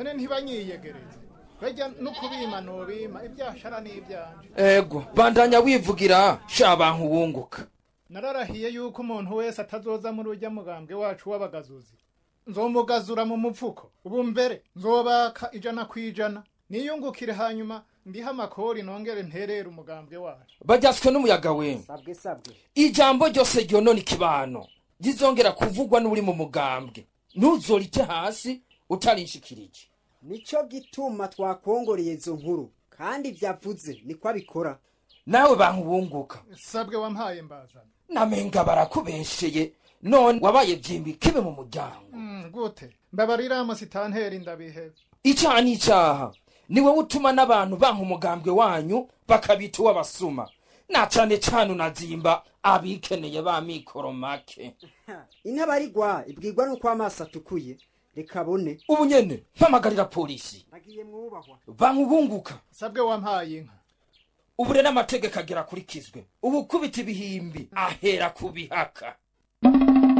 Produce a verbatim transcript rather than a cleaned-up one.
None ntibanyiyegereze, bajya no kubima nobima ibyashara n'ibyanje. Ego, bandanya wivugira sha bantu wunguka. Nararahiye yuko umuntu wese atazoza muri urya mugambwe wacu w'abagazuzi nzomugazura mu mupfuko. Ubu mbere nzobaka ijana ku ijana niyungukire, hanyuma ndihe amakori nongere nterere umugambwe wacu. Bajyaswe n'umuyaga we. Sabwe, sabwe. Ijambo ryose ryonona ikibano rizongera kuvugwa n'uri mu mugambwe, ntuzorite hasi utarinshikirije. Nico gituma twakongoreye izo nkuru, kandi vyavuze niko abikora. Nawe bantu wunguka. Sabwe wampaye mbazana. Namenga barakubesheye, none wabaye vyimbi kibe mu muryango. Mm, gute? Mbabarira musitanteri, ndabihebe. Icaha n'icaha, ni wowe utuma n'abantu banka umugambwe wanyu bakabita uw'abasuma, na cane cane unazimba abikeneye ba mikoro make. Intabarigwa ibwirwa nuko amaso atukuye, reka abone. Ubu nyene mpamagarira polisi. Ndagiye mwubahwa. Bankubunguka. Sabwe wampaye inka. Ubu rero amategeko agera akurikizwe, ubu kubita ibihimbi ahera ku bihaka.